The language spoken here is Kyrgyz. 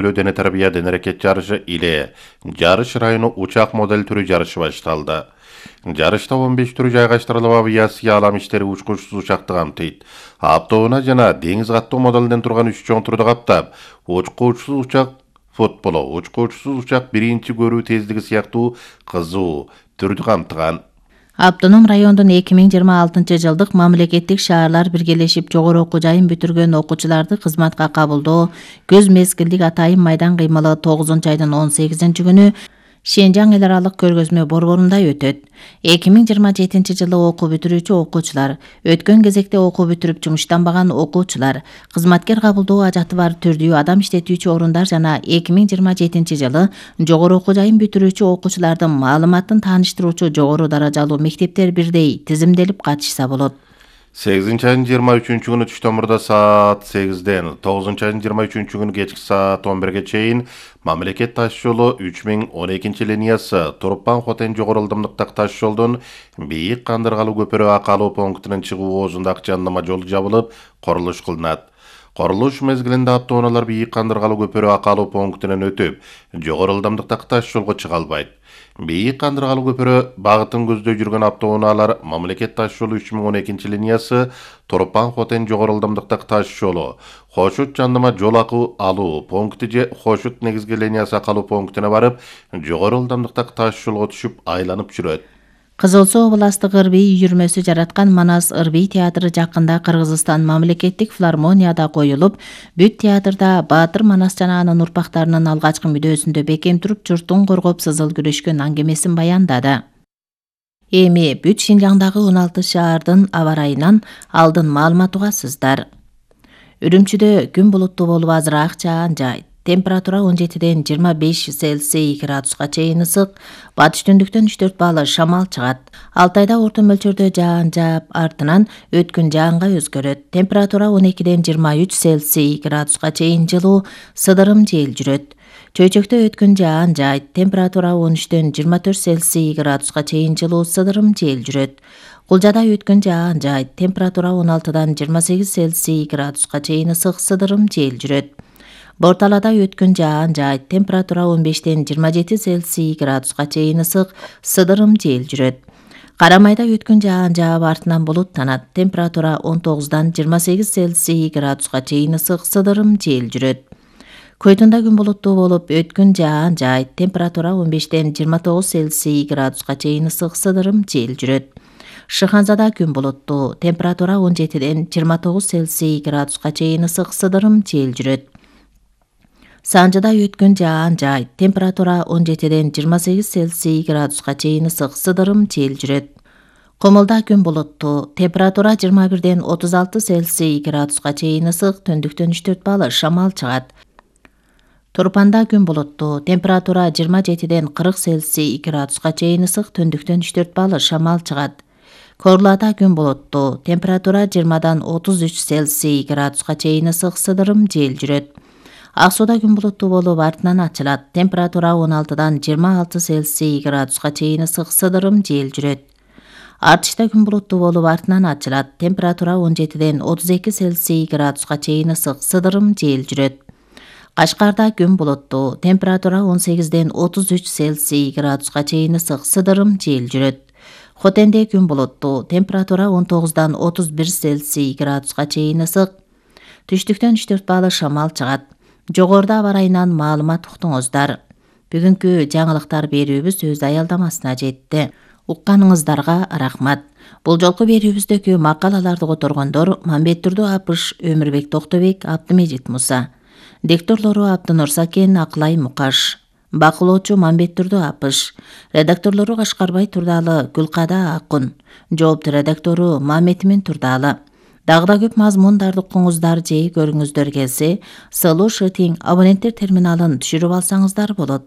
Дене тарбия дене аракет жарышы иле жарыш району учак модель түрү жарышы башталды. Жарышта 15 түрү жайгаштырылып, авиация алам иштери учкучсуз учакты камтыйт. Аптоуна жана деңиз каттоо моделден турган 3 чоң түрдү каптап, учкучсуз учак футболу, учкучсуз учак биринчи көрүү тездиги сыяктуу кызуу түрдү камтыган. Автоном райондун 2026 жылдык мамлекеттик шаарлар биргелешип жогору окуу жайын бүтүргөн окуучуларды кызматка кабылдоо көз мезгилдик атайын майдан кыймылы 9-айдын 18-күнү Шенжаң эл аралык көргөзмө борборунда өтөт. 2027 жылы окуу бүтүрүүчү окуучулар, өткөн кезекте окуу бүтүрүп жумуштанбаган окуучулар, кызматкер кабылдоо ажаты бар түрдүү адам иштетүүчү орундар жана 2027 жылы жогору окуу жайын бүтүрүүчү окуучулардын маалыматын тааныштыруучу жогору даражалуу мектептер бирдей тизимделип катышса болот. 8-айдын 23-күнү түштөн мурда саат 8-ден, 9-айдын 23-күнү кечки саат 11-ге чейин мамлекет таш жолу 3012 линиясы Турпан-Хотен жогору ылдымдыктагы таш жолдон Бийик Кандыргалуу көпүрө акалуу пунктунун чыгуу оозундагы жандама жол жабылып, курулуш кылынат. Курулуш мезгилинде автоунаалар Бийик Кандыргалуу көпүрө акалуу пунктунан өтүп, жогору ылдымдыктагы таш жолго чыга албайт. Бийик Кандыргалуу көпүрө багытын көздөй жүргөн автоунаалар мамлекет таш жолу 3012 линиясы Турпан-Хотен жогору ылдымдыктагы таш жолу Хошут жандама жол алуу пункти же Хошут негизги линиясы акалуу пунктуна барып, жогору ылдымдыктагы таш жолго түшүп айланып жүрөт. Кызыл Суу областык ырбий үйүрмөсү жараткан Манас ырбий театры жакында Кыргызстан мамлекеттик филармонияда коюлуп, бүт театрда Баатыр Манас жана анын урпактарынын алгачкы мүдөөсүндө бекем туруп, журттун коргоп сызыл күрөшкөн аңгемесин баяндады. Эми бүт Шинжаңдагы 16 шаардын аба ырайынан алдын маалымат угасыздар. Үрүмчүдө күн булуттуу болуп азыраак жаан жайт. Температура 17-ден 25 Цельсий градуска чейин ысык, батыш түндүктөн 3-4 балл шамал чыгат. Алтайда орто мөлчөрдө жаан жаап, артынан өткүн жаанга өзгөрөт. Температура 12-ден 23 Цельсий градуска чейин жылуу, сыдырым жел жүрөт. Чөйчөктө өткүн жаан жайт. Температура 13-ден 24 Цельсий градуска чейин жылуу, сыдырым жел жүрөт. Кулжада өткүн жаан жайт. Температура 16-дан 28 Цельсий градуска чейин ысык, сыдырым жел жүрөт. Борталада өткүн жаан жайт. Температура 15-ден 27 Цельсий градуска чейин ысык, сыдырым жел жүрөт. Карамайда өткүн жаан жаап, артынан булуттанат. Температура 19-дан 28 Цельсий градуска чейин ысык, сыдырым жел жүрөт. Көйтүндө күн булуттуу болуп, өткүн жаан жайт. Температура 15-ден 29 Цельсий градуска чейин ысык, сыдырым жел жүрөт. Шыханзада күн булуттуу. Температура 17-ден 29 Цельсий градуска чейин ысык, сыдырым жел жүрөт. Санжыда өткүн жаан жайт. Температура 17-ден 28 Цельсий градуска чейин ысык, сыдырым жел жүрөт. Комулда күн булуттуу. Температура 21-ден 36 Цельсий градуска чейин ысык, түндүктөн 3-4 балл шамал чыгат. Турпанда күн булуттуу. Температура 27-ден 40 Цельсий градуска чейин ысык, түндүктөн 3-4 балл шамал чыгат. Корлада күн булуттуу. Температура 20-дан 33 Цельсий градуска чейин ысык, сыдырым жел жүрөт. Ак-Сууда күн булуттуу болуп, артынан ачылат. Температура 16-дан 26 Цельсий градуска чейин ысык, сыдырым жел жүрөт. Артышта күн булуттуу болуп, артынан ачылат. Температура 17-ден 32 Цельсий градуска чейин ысык, сыдырым жел жүрөт. Кашкарда күн булуттуу. Температура 18-ден 33 Цельсий градуска чейин ысык, сыдырым жел жүрөт. Хотенде күн булуттуу. Температура 19-дан 31 Цельсий градуска чейин ысык, түштүктөн 3-4 балл шамал чыгат. Жогоруда аба ырайынан маалымат уктуңуздар. Бүгүнкү жаңылыктар берүүбүз өз аялдамасына жетти. Укканыңыздарга рахмат. Бул жолку берүүбүздөгү макалаларды которгондор Мамбеттурду Апыш, Өмүрбек Токтобек, Абдымежит Муса. Дикторлору Абдынур Сакен, Акылай Мукаш. Бакылоочу Мамбеттурду Апыш. Редакторлору Кашкарбай Турдалы, Гүлкада Акун. Жоопту редактору Маметмин Турдалы. Дагы да көп мазмундарды укуңуздар же көрүңүздөр келсе, Solution абоненттер терминалын түшүрүп алсаңыздар болот.